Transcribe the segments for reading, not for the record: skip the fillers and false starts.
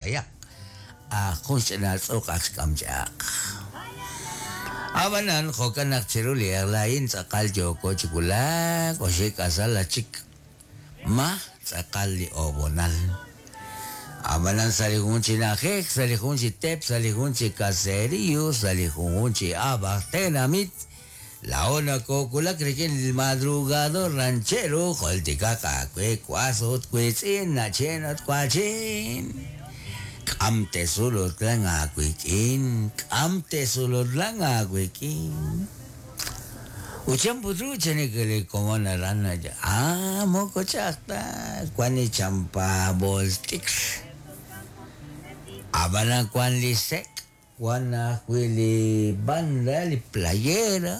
B'ayaq, jun xch'ina tz'uq aj xk'am chaq. Ab'anan, jo'kan naq chiru li eq'la a'in tz'aqal yooko chi wulak oxib' k'asal chik ma tz'aqal li ob'onal. Ab'anan sa' li jun chi na'ajej, sa' li jun chi teep, sa' li jun chi caserío, sa' li junjun chi ab'aj tenamit, laa'o nakoowulak rik'in li madrugador ranchero, jultikaq aawe was ut wiitz'in, na'chin ut wa'chin. K'am tesulutlan aawik'in, k'am tesulutlan aawik'in. Ut chan put ru chanik li komon aran, ah, moko ch'a'aj ta, wan li champa bolt'ikr. Ab'anan wan li sek', wan ajwi' li banda, li playera,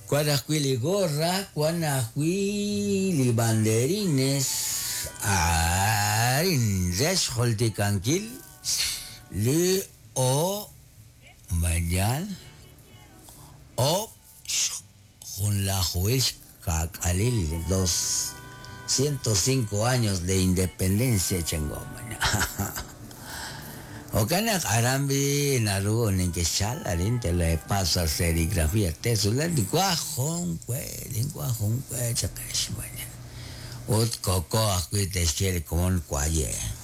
wan ajwi' li gorra, wan ajwi' li banderines, arin re xjultikankil li o mañal o junlajuhil xka'k'alil 205 años de independencia chanko. Jo'kan naq aran b'i naru neke'xchal arin te le pasa serigrafía tesulan linwaj jun we linwaj jun we chaqex mañana ut koko ajwi' te'xye li komon waye'.